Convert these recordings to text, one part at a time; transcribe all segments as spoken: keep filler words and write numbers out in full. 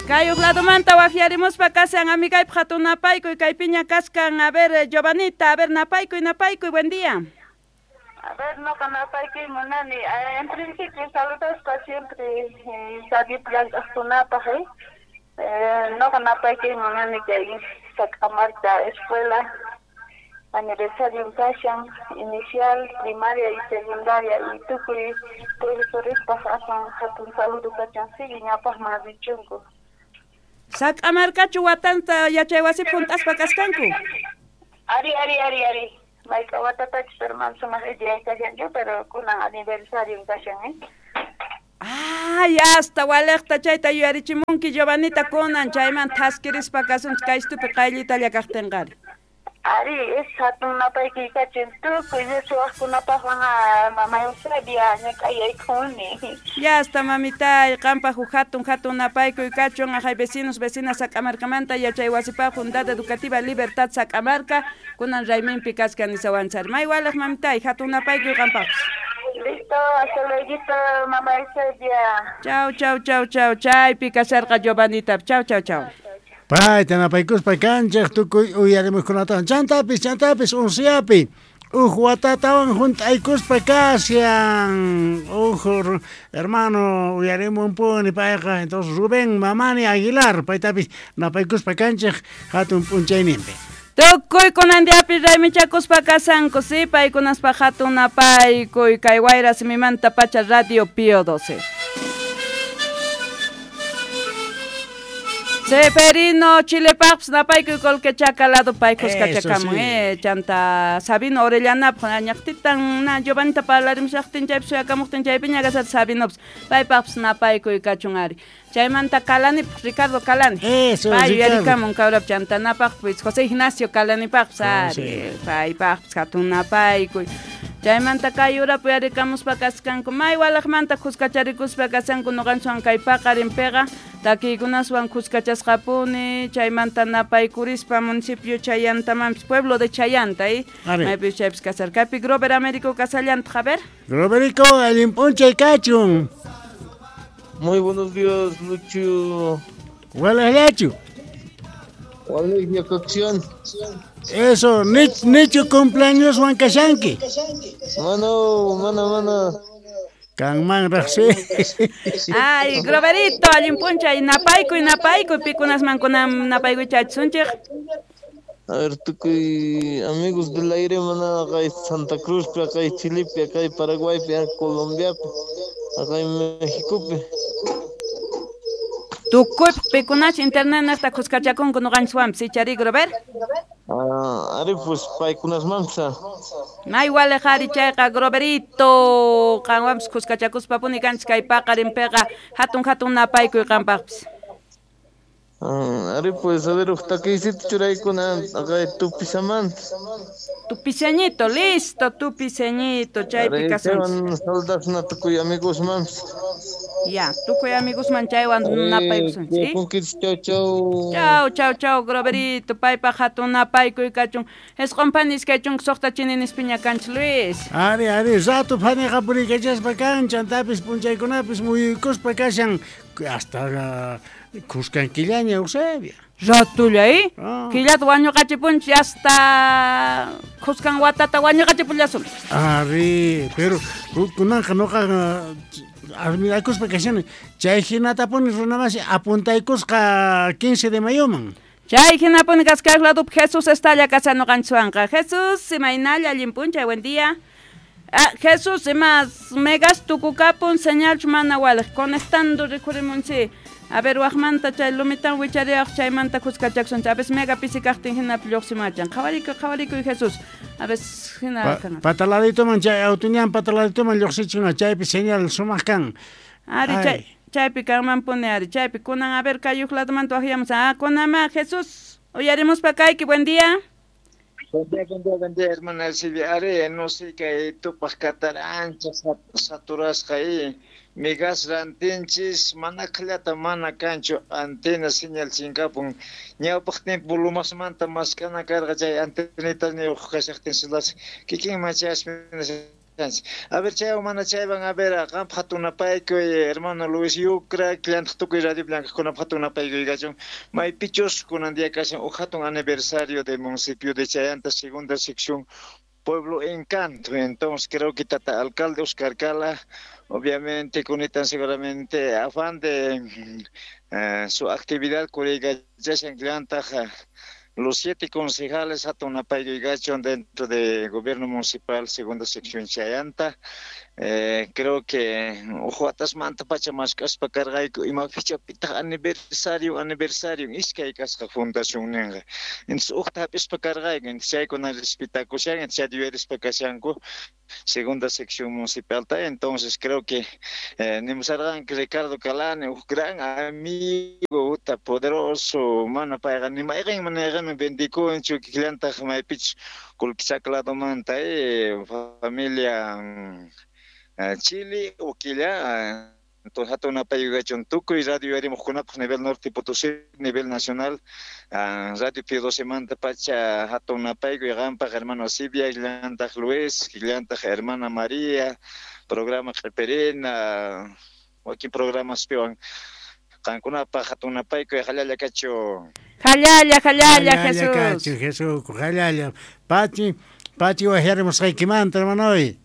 Kay ladomanta wajyarimuspa kashan amigaypaq hatun napaykuy kaypiña kaskan. A ver, Giovanita, a ver, napaykuy, napaykuy, buen día. A ver, no napaykuy munani. En principio saludaspa siempre eh, eh, no napaykuy munani kay Sac'amarca escuela aniversario kashan inicial, primaria y secundaria y tukuy profesorespaj asan hatun saludo kachan sigue ñapajman richunku. Sac'amarcachu watanta yachaywasipi junt'aspa kaskanku. Ari, ari, ari, ari. Mayka watatachus hermano sumaq idea kashanchu, pero kunan aniversario kashan, eh. Ay, hasta walejta chayta yuyarichimunki Giovanita kunan chayman thaskirispa kasunchik kaystupi qayllitalla kaqtinqari. Ari, es hatun napaykuy kachin tukuy suwaqkunapaqwan mama Eusebia ñak'ayaykuni. Ya hasta mamitay, qampaq huk hatun hatun napaykuy kachun ajay vecinos, vecinas Sac'amarcamanta yachaywasipaq Unidad Educativa Libertad Sac'amarca kunan rayminpi kaskan nisawanchari. May walej mamitay, hatun napaykuy qampaqpis. Listo, hasta luego, mamá Eusebia. Chau, chau, chau, chau, chaypi kasharqa Giovanita. Chau, chau, chau. Payta napaykuspa kanchej tukuy uyarimuqkunatan chantapis chantapis unsiapi uj watatawan junt'aykuspa kashan uj hermano uyarimunpuni payqa entonces Rubén Mamani Aguilar paytapis napaykuspa kanchej hatun p'unchayninpi. Tukuy kunan diapi raymichakuspa kasanku, sí, paykunaspa hatun napaykuy kay wayra simimanta pacha Radio Pío doce. Seferino Chilepaqpis napaykuy Colquechaca lado paykuskachakamun, sí. eh, chanta Sabino Orellanápaj ñaqtitan na Giovanita parlarimushaqtin chaypi suyakamuqtin chaypiña kasar Sabinopis paypaqpis napaykuy kachun ari. Chaymanta Kalanipaq Ricardo Kalani. Eso, pay Ricardo. Yuyarikamun kawrap chanta napaqpis José Ignacio Kalanipaqpis ari paypaqpis hatun napaykuy. Chaymanta kay urapi yarikamuspa kaskanku may walajmanta kuskacharikuspa kasanku noqanchwan kay paqarinpiqa takiykunaswan kuskachasqapuni chaymanta napaykurispa municipio Chayantamanpis pueblo de Chayanta eh maypis chaypis kasarkapi Grover Américo kasallantaq a ver. Groverico allin p'unchay kachun. Muy buenos días, Lucho. Walajllachu. Walajlla cocción. Eso, nichu cumpleaños Juan kashanki. Mano, mano, mano. Kanman raqsi. Ay, Groverito, allin p'unchay napaykuy, napaykuy, pikunasman kunan napaykuy chachisunchik. A ver, tukuy amigos del aire, mana, acá Santa Cruz, acá Chile, acá Paraguay, acá Colombia, acá México. Tukuy pikunach internet naqta kuskachakunku noqanchikwanpis ichari Grover. Ah, ari pues paykunasmanpis. May walej ari chayqa Groverito qanwanpis kuskachakuspapuni kanchik kay paqarinpiqa hatun hatun napaykuy qampaqpis. Ah, ari pues a ver uj takiysita churaykuna acá tupisamanta. Tupiseñito, listo, tupiseñito, chaypi kasunchik. Saludas tukuy amigosmanpis. Ya, tukuy amigosman chaywan napaykusunchik. Chau, chau. Chau, chau, chau, Groverito, paypaq hatun napaykuy kachun. Isqun phani iskay chunka suqta chininispiña kanchik, Luis. Ari, ari, rato phaniqa puriykachaspa kan, chantapis p'unchaykunapis muyuykuspa kashan hasta kuskan killaña Eusebia. Ratulla, eh? Ah. Killata wañuqachipunchik hasta kuskan watata wañuqachipullasun. Ari, pero kunanqa noqa admirakuspa kashani chay hinatapuni runamasi apuntaykusqa quince de mayoman. Chay hinapuni kaskaq ladupi Jesús estalla kashan noqanchikwanqa. Jesús, imaynalla allin p'unchay, buen día. Ah, Jesús, imas megas tukukapun señalchu mana walej conectando rikhurimunchik. A ver, wajmanta chay lumitan wichariaq chaymanta kuskachakusunchik. A veces mega pisi kaqtin hinapi lluqsimachan. Qhawarikuy, qhawarikuy Jesús. A veces hina Pa, pataladitoman chay autuñan pataladitoman lluqsichuna chaypi señal sumaq kan. Ari chay chaypi kanmanpuni ari chaypi kunan a ver kay uj ladomanta wajyamus. Ah, kunama Jesús, uyarimuspa kayki, buen día. Buen día, buen día, buen día, hermana Silvia. Ari, no sé kay tupaq katara ancha saturasqa y migas rantinchis mana qhillata mana kanchu antena señal chinkapun ñawpaq tiempo lumasmanta maskana karqa chay antenita niyuq kashaqtin silas kikinman chayaspa kashanchis. A ver, chaywan mana chaywan, a ver, qanpaq hatun napaykuy, hermano Luis Yucra, llantaq tukuy radio llank'aqkunapaq hatun napaykuy kachun. Maypichus kunan día kashan uj hatun aniversario del municipio de Chayanta, segunda sección, Pueblo Encanto. Entonces creo que tata alcalde Oscar Cala, obviamente cunitan seguramente afán de eh, su actividad los siete concejales hatun napaykuy kachun dentro del gobierno municipal segunda sección Chayanta. Eh, creo que uj watasmanta pacha mask'aspa karqayku ima fechapitaq aniversario aniversario iskay kasqa fundación ninqa. Entonces ujta hap'ispa karqayku, entonces chaykuna respetakushan, entonces chayta yuyarispa kashanku segunda sección municipal ta. Entonces creo que eh, nimusarqanki Ricardo Calani, uj gran amigo, uta poderoso, mana payqa ni mayqin mana bendikunchu kikillantaq maypichus qullqichaka ladomanta eh, familia Chile, Uquilla, entonces hatun napaykuy kachun tukuy radio yuyarimuqkunapaq nivel norte Potosí, nivel nacional, radio Pío doce manta pacha hatun napaykuy qanpaq hermano Silvia, llantaq Luis, llantaq hermana María, programa Q'iperina, wakin programas piwan qankunapaq hatun napaykuy jallalla kachu. Jallalla, jallalla, Jesús. Kachu, Jesús, jallalla. Pachi, pachi wajyarimusqaykimanta, hermanoy.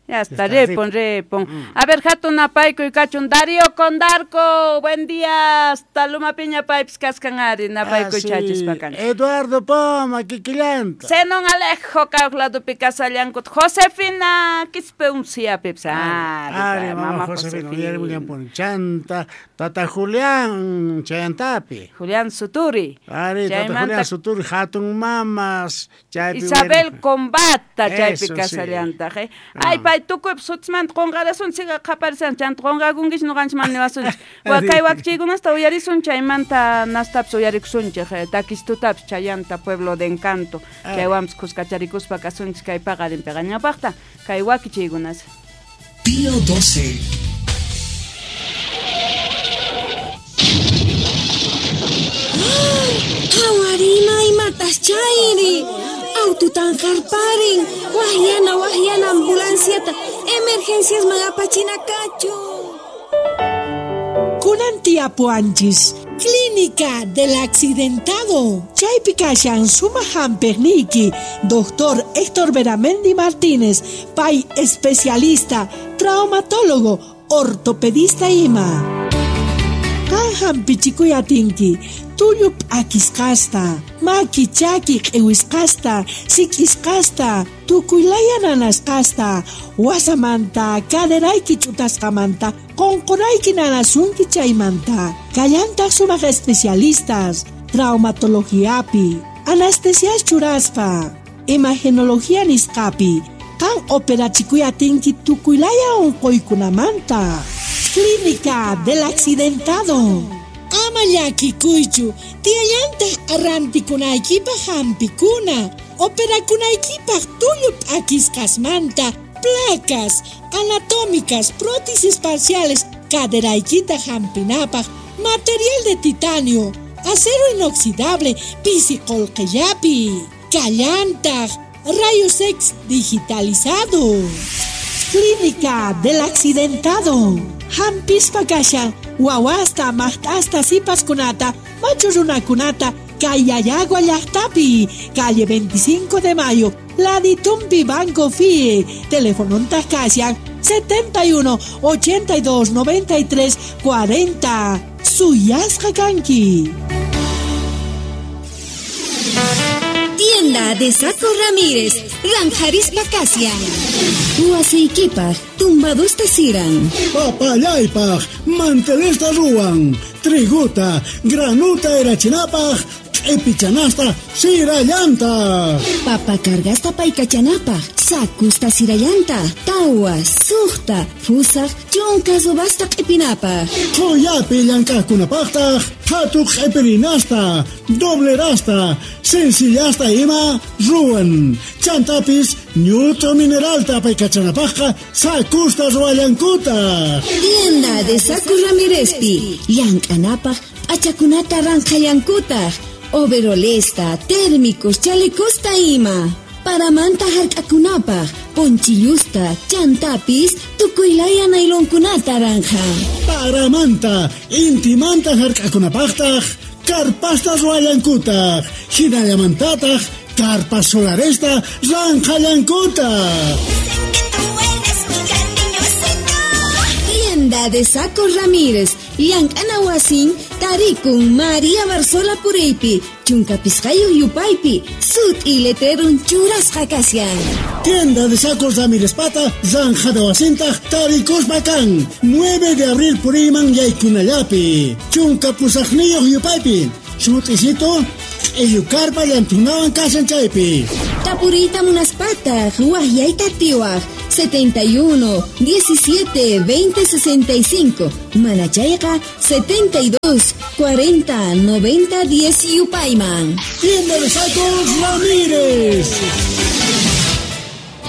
Ya está, repon, repon. A ver, hatun napaykuy kachun. Darío Condarco, buen día. Hasta Luma Piña paypis kaskan ari, napaykuy chachispakan. Eduardo Poma, kikillanta. Zenon Alejo, kawq ladopi kasallankut. Josefina, Quispe unciapipis. Ari, ari, mama Josefina, uyarimullampuni. Chanta, tata Julián, chayantapi. Julián Suturi. Ari, tata Julián Suturi, hatun mamas. Chaypi Isabel Combata, chaypi Eso, sí. kasallantaq. Eh. Ay, pay tukuypis sutismanta qunqarasun, siga qhaparisan, chanta qunqakunkichis ñuqanchis mana niwasunchis. Wa kay wakchiykunasta uyarisun, chaymanta nastapis uyarikusunchik, takistutapis Chayanta, Pueblo de Encanto. Chaywanpis kuskacharikuspa kasunchis kay paqarinpiqa ñawpaqta, kay wakichiykunas. Pío doce. Qhawarina imatas chayri. Aututan qarparin, wajyana wajyana ambulanciata, emergencias apachina kachu. Kunan tiyapuwanchis, Clínica del Accidentado. Chaypi kashan sumaq hampiqniyki, doctor Héctor Beramendi Martínez, pay especialista, traumatólogo, ortopedista ima. Qan hampichikuy atinki, tullu p'akisqasta, maki chaki q'iwisqasta, sik'isqasta, tukuylaya nanasqasta, wasamanta, caderayki ch'utasqamanta, qunqurayki nanasunki chaymanta. Kallantaq sumaq especialistas, traumatologiapi, anestesias churaspa, imagenología nisqapi, qan operachikuy atinki tukuylaya unquykunamanta. Clínica del Accidentado. Ama llakikuychu, tiyallantaq rantikunaykipaq hampikuna, operakunaykipaq tullu p'akisqasmanta, placas anatómicas, prótesis parciales, caderaykita hampinapaq, material de titanio, acero inoxidable, pisi qullqillapi, kallantaq, rayos X digitalizado. Clínica del Accidentado. Hampispa kashan, wawasta, maqt'asta, sipaskunata, machu runakunata, kay Llallagua llaqtapi, calle veinticinco de Mayo, Laditumpi Banco F I E, telefonontaq kashan setenta y uno, ochenta y dos, noventa y tres, cuarenta. Suyasqa kanki. Tienda de Saco Ramírez, Ranjarispa Kasian. Huaseykipaj, tumbadusta siran. Papallaypaj, mantelesta ruwan. Triguta, granuta erachinapaj, q'ipichanasta sirallanta. Papa cargasta paykachanapaj, sakusta sirallanta, tawa, suqta, fusaq, chunka subasta q'ipinapaj. Qhuyapi llank'aqkunapaqtaq, qhatu q'ipirinasta, doblerasta, sencillasta ima ruwan. Chantapis ñut'u mineralta paykachanapaqqa sakusta ruwallankutaq. Tienda de Saco Ramírezpi, llank'anapaq p'achakunata ranqhallankutaq. Overolesta, térmicos, chalecosta ima. Paramanta hark'akunapaq, ponchillusta, chantapis, tukuylaya nailonkunata ranja. Paramanta, intimanta hark'akunapaqtaq, karpasta ruwallankutaq, hinallamantataq, carpas solaresta ranjallankutaq. Tienda de Sacos Ramírez, llank'ana wasin, tarikun María Barzola Puriypi, chunka pisqayuq yupaypi, sut'i letrerun churasqa kashan. Tienda de Sacos Ramírez pata, ranjada wasintaq, tarikuspa kan, nueve de abril puriyman yaykunallapi, chunka pusaqniyuq yupaypi, sut'isito, q'illukarpa llantunawan kashan chaypi. Tapuriyta munaspataq, waqyayta atiwaq, setenta y uno, diecisiete, veinte, sesenta y cinco, Manachayqa, setenta y dos, cuarenta, noventa, diez yupayman. Tienda de Sacos Ramírez.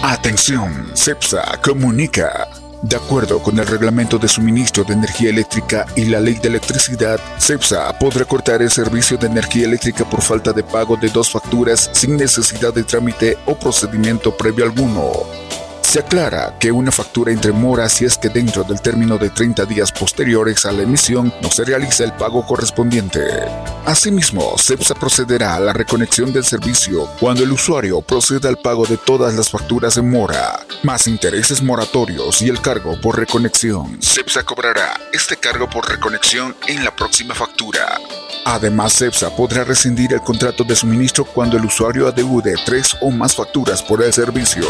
Atención, CEPSA comunica. De acuerdo con el Reglamento de Suministro de Energía Eléctrica y la Ley de Electricidad, CEPSA podrá cortar el servicio de energía eléctrica por falta de pago de dos facturas sin necesidad de trámite o procedimiento previo alguno. Se aclara que una factura entre mora si es que dentro del término de treinta días posteriores a la emisión no se realiza el pago correspondiente. Asimismo, CEPSA procederá a la reconexión del servicio cuando el usuario proceda al pago de todas las facturas en mora, más intereses moratorios y el cargo por reconexión. CEPSA cobrará este cargo por reconexión en la próxima factura. Además, CEPSA podrá rescindir el contrato de suministro cuando el usuario adeude tres o más facturas por el servicio.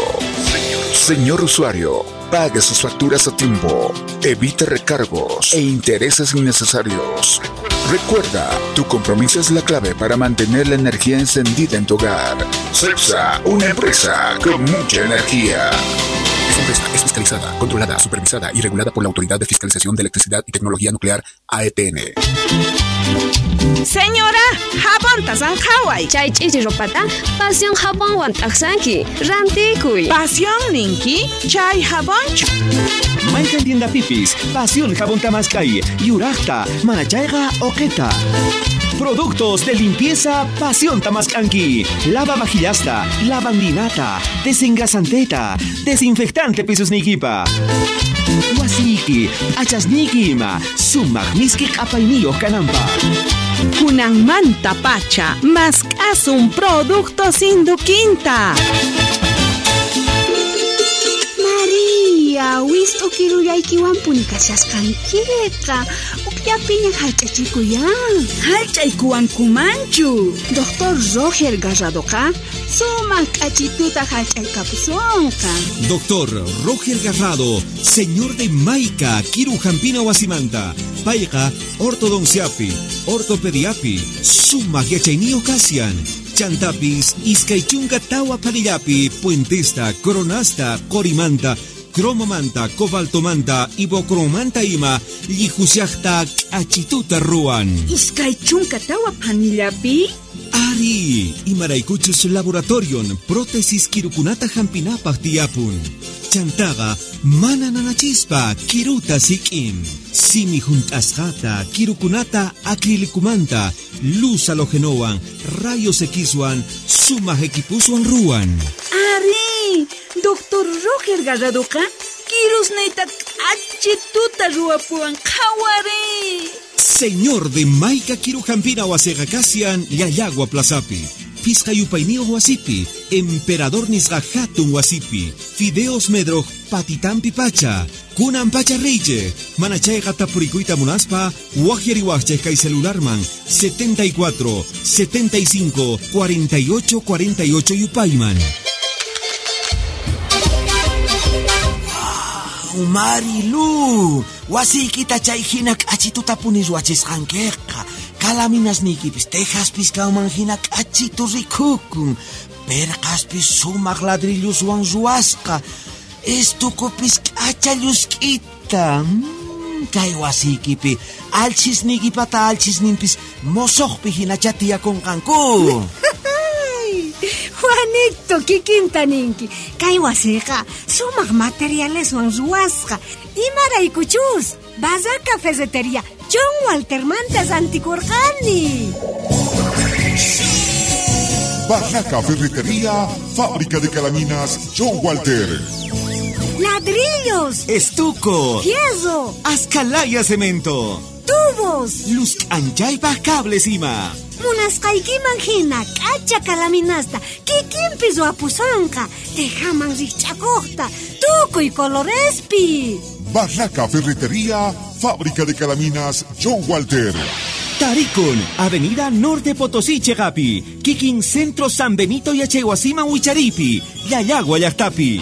Señor usuario, pague sus facturas a tiempo, evite recargos e intereses innecesarios. Recuerda, tu compromiso es la clave para mantener la energía encendida en tu hogar. CEPSA, una empresa con mucha energía. Esta empresa es fiscalizada, controlada, supervisada y regulada por la Autoridad de Fiscalización de Electricidad y Tecnología Nuclear, A E T N. Señora, jabonta sanjaway. Chay ch'ichi ropata, pasión jabonwan t'aqsanki, rantikuy. Pasión ninki, chay jabonchu. Mayqan tienda pipis, pasión jabón tamaskay, yuraqta, manachayqa oqeta. Productos de limpieza Pasión Tamascanqui. Lava vajillasta, lavandinata, desengrasanteta, desinfectante pisusnikipa. Wasiki, achasniki ima, sumaq miski q'apayniyuq kananpaq. Kunanmanta pacha, mask'asun productos induquinta. María, wist'u kirullaykiwanpuni kashasqankiqa. Ukllapiña hallch'achikuyan. Hallch'aykuwankumanchu. Doctor Roger Garradoqa sumaq k'achituta hallch'aykapusunqa. Doctor Roger Garrado, señor de Maica, Kiru Jampina Wasimanta, Payqa, ortodonciapi, ortopediapi, sumaq yachayniyuq kasyan. Chantapis, iskaychunka tawa panillapi, puentesta, coronasta, qorimanta, cromomanta, cobaltomanta, ibocromanta ima, llihushaqta k'achituta ruwan. Iskaychunka tawa panillapi? Ari, imaraykuchus laboratorion, prótesis kirukunata hampinapaq tiyapun. Chantaqa, mana nanachispa, kiruta sik'in. Simi junt'asqata, kirukunata acrilicumanta, luz halogenowan, rayos Xwan, sumaq equipuswan ruwan. Ari, Doctor Roger Garradoqa, kirusniyta k'achituta ruwapuwan qhawari. Señor de Maica Kirujampina wasiqa kasyan Llallagua Plazapi, Pisqa yupayniyuq wasipi, Emperador nisqa hatun wasipi, Fideos Medroj patitampi pacha, Kunan pacha reyche, manachayqa tapurikuyta munaspa, waqyariwaqchej kay celularman setenta y cuatro, setenta y cinco, cuarenta y ocho, cuarenta y ocho yupayman. Marilu, wasiykita chay hina k'achituta puni ruwachisqankiqa. Kalaminasniykipis tejaspis kanman hina k'achitu rikukun. Perqaspis sumaq ladrilluswan ruwasqa. Estukupis k'acha llusk'ita. Mm, kay wasiykipi alchisniykipata alchisninpis mosoqpi hinacha tiyakunqanku. Juanito, kikinta ninki. Kay wasiqa sumaq materialeswan ruwasqa. Imaraykuchus, Bazaca Ferretería, John Walter manta rantikurqani. Barraca Ferretería, fábrica de calaminas John Walter. Ladrillos, Estuco, fierro, Ascalaya cemento, tubos, luz anchaypa cables ima. Munasqaykiman hina k'acha kalaminasta kikinpi ruwapusonqa tejaman rikch'akuqta tukuy colorespi. Barraca Ferretería, fábrica de calaminas John Walter. Tarikun, Avenida Norte Potosí Chegapi, Kikin Centro San Benito Yachaywasiman Wicharipi, Llallagua llaqtapi.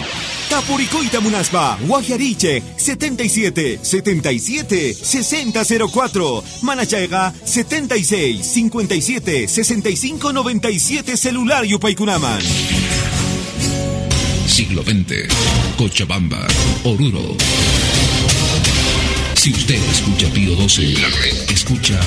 Tapuricoita Munaspa, Guajariche, setenta y siete, setenta y siete, sesenta cero cuatro, Manachayga, setenta y seis, cincuenta y siete, sesenta y cinco, noventa y siete, celular Yupaykunaman. Siglo veinte, Cochabamba, Oruro. Si usted escucha Pío doce, escucha